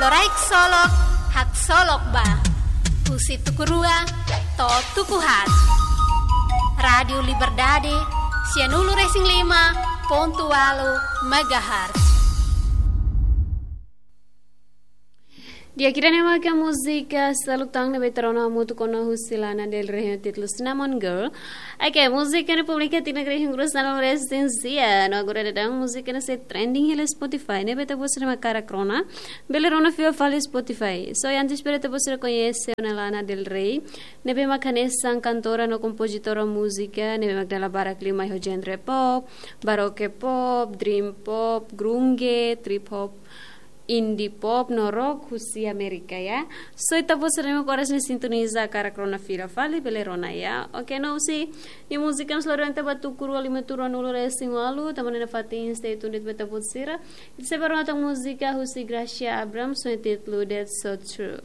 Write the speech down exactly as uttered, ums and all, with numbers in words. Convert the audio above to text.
Loraik solok, haksolok ba. Husi tuku rua to'o tuku haat. Rádiu Liberdade, sianulu-resin-lima pontu ualu megahertz. Di'ak, ida-ne'e maka múzika Seluk Tan ne'ebé ita rona hamutuk ona husi Lana Del Rey ho títulu Cinnamon Girl. Oke, múzika ne'e publika iha tinan rihun grua sanulu-resin-sia. No agora daudaun múzika ne'e sei trending hela Spotify. Ne'ebé ita-boot sira mak hakarak rona, bele rona fila fali Spotify. So, antes bele ita-boot sira koñese ona Lana Del Rey, ne'ebé mak hanesan kantora no kompozitora múzika, ne'ebé mak dala barak liu mai ho genre pop, baroque pop, dream pop, grunge, trip hop, indie pop no rock husi Amérika, ya. So, ita-boot sira ne'ebé mak oras ne'e sintoniza hakarak rona fila fali, bele rona, ya. Oke, no husi nia múzika ne'e sei lori ita ba tuku rua lima to'o ruanulu-resin-ualu, tanba ne'e nafatin stay tuned ba ita-boot sira. Ita sei bá rona tan múzika husi Gracia Abrams, ho títulu That's So True.